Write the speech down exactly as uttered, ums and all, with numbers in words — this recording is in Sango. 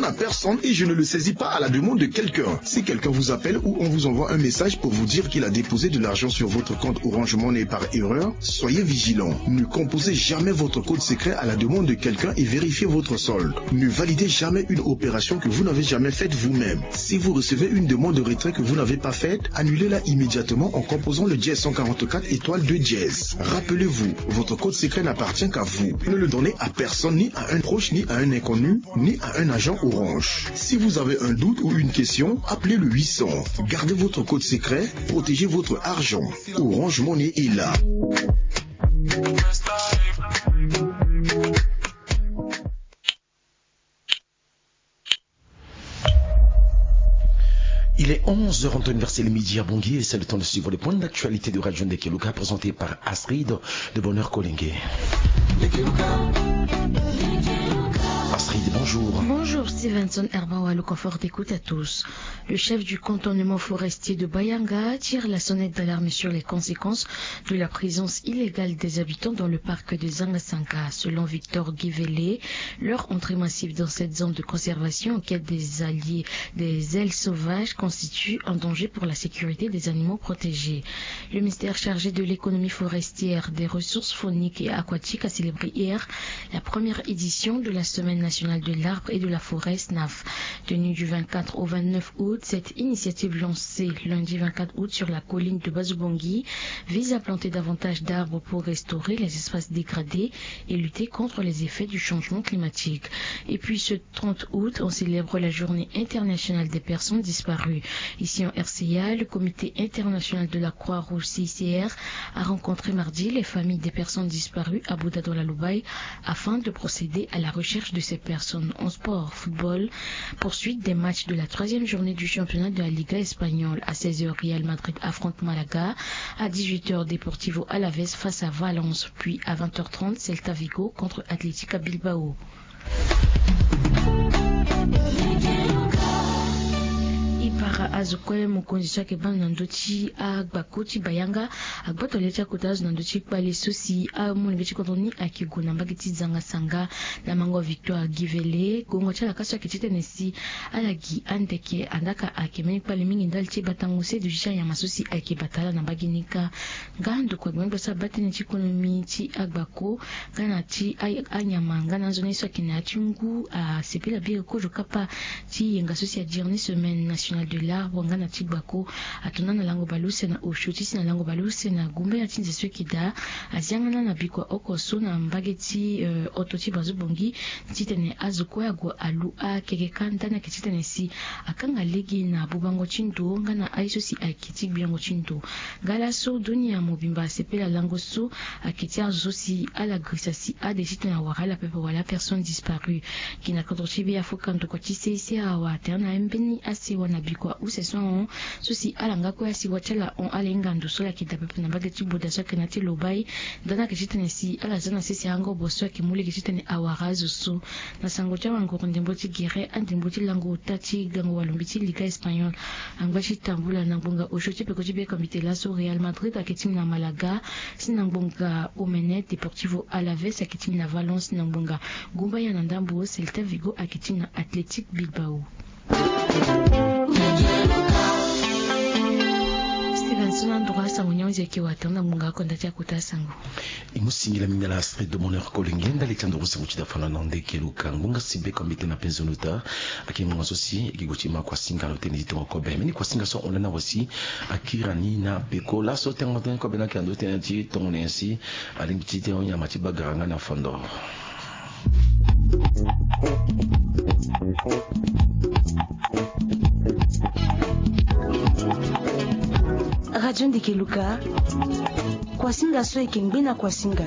À personne et je ne le saisis pas à la demande de quelqu'un. Si quelqu'un vous appelle ou on vous envoie un message pour vous dire qu'il a déposé de l'argent sur votre compte Orange Money par erreur, soyez vigilant. Ne composez jamais votre code secret à la demande de quelqu'un et vérifiez votre solde. Ne validez jamais une opération que vous n'avez jamais faite vous-même. Si vous recevez une demande de retrait que vous n'avez pas faite, annulez-la immédiatement en composant le dièse cent quarante-quatre étoile deux dièse. Rappelez-vous, votre code secret n'appartient qu'à vous. Ne le donnez à personne, ni à un proche, ni à un inconnu, ni à un agent Orange. Si vous avez un doute ou une question, appelez le huit cents. Gardez votre code secret, protégez votre argent. Orange Money est là. Il est onze heures en temps universel, midi à Bangui, et c'est le temps de suivre le point d'actualité de Radio Ndekeluka présenté par Astrid de Bonheur Kolenge. Astrid, bonjour. Bonjour Stevenson Herbawa, le confort d'écoute à tous. Le chef du cantonnement forestier de Bayanga tire la sonnette d'alarme sur les conséquences de la présence illégale des habitants dans le parc de Zangasanga. Selon Victor Guivele, leur entrée massive dans cette zone de conservation en quête des alliés des ailes sauvages constitue un danger pour la sécurité des animaux protégés. Le ministère chargé de l'économie forestière, des ressources fauniques et aquatiques a célébré hier la première édition de la Semaine nationale de l'arbre et de la forêt, snaf. Tenue du vingt-quatre au vingt-neuf août, cette initiative lancée lundi vingt-quatre août sur la colline de Bazubongi vise à planter davantage d'arbres pour restaurer les espaces dégradés et lutter contre les effets du changement climatique. Et puis ce trente août, on célèbre la journée internationale des personnes disparues. Ici en R C A, le Comité international de la Croix-Rouge, C I C R, a rencontré mardi les familles des personnes disparues à Bouda dans la Loubaye afin de procéder à la recherche de ces personnes. En sport, football, poursuite des matchs de la troisième journée du championnat de la Liga espagnole. À seize heures, Real Madrid affronte Malaga. À dix-huit heures, Deportivo Alavés face à Valence. Puis à vingt heures trente, Celta Vigo contre Atlético Bilbao. E para azo kue mokonzi so ayeke bâ na ndö ti agbako ti Bayanga agboto le ti akota azo na ndö ti kpale so si amolenge ti kodro ni ayeke gue na mbage ti Zangasanga na mango Victoire Guivele. Gongo ti ala ka so ayeke titene si ala gi andeke, andaa ka ayeke mbeni kpale mingi ndali ti batango se duti ti anyama so si ayeke bata ala na mbage ni kâ. Nga ndokua gbengbe so abaa tënë ti konomi ti agbako nga na ti anyama nga na anzoni so ayeke na ya ti ngu asepela biri kozo kapa ti yenga so si adiri ni semaine nationale de l'arbre nga na ti gbako. Ato na na lango baleuse na osio ti si na lango baleuse na gumbaya ti nze so ayeke daa. Azia nga na na bikua oko so na mbage ti oto ti Bazubongi titene azo kue ague alu akeke kâ ndani ayeke titene si akanga lege na bubango ti ndo nga na aye so si ayeke ti gbiango ti ndo. Nga laso dunia mobimba asepela lango so ayeke ti azo so si ala girisa si ade titene awara ala pepe wala personne disparue. Gi na kodro ti be afuka ndokua ti C I C R awa atene na mbeni asewa na bikua use so ahon so si ala nga kue asewa ti ala hon ala hinga ndo so ala yeke daa pepe na mbage ti Bouda so ayeke na ya ti Lobaye. Ndani ayeke titene si ala za na sese angobo so ayeke mu lege titene awara azo so. Na sango ti awanguru ndembo ti gere andembo ti lango ota ti gango walombe ti liga espagnol angba ti tambula na ngbonga osio ti peko ti be komite laso Real Madrid ayeke ti na Malaga, si na ngbonga omene Deportivo Alaves ayeke ti na Valence, na ngbonga gumbaya na ndambo Celta Vigo ayeke ti na Athletic Bilbao. Stevenson androit sango ni ahunzi ayeke wata na ngbonga akonda ti akota sango. E mu singila mingi ala Astrid de Moneur Kolenge ndali ti andoro sango ti dafana na nde keluka ngbonga si be komite na penzo nota. Ayeke ngbonga so si e gi gue ti ma kuasinga na lo tënë ti tongo kobe mbeni kuasinga so ahon lani awe si akiri ani na peko laso tengo tënë kobe ni ayeke na ndö ti tënë ti tongo na nyen si alingbi ti tene nyama ti bagara nga na fondo. Radio Ndeke Luka, kuasinga so e yeke ngbe na kuasinga.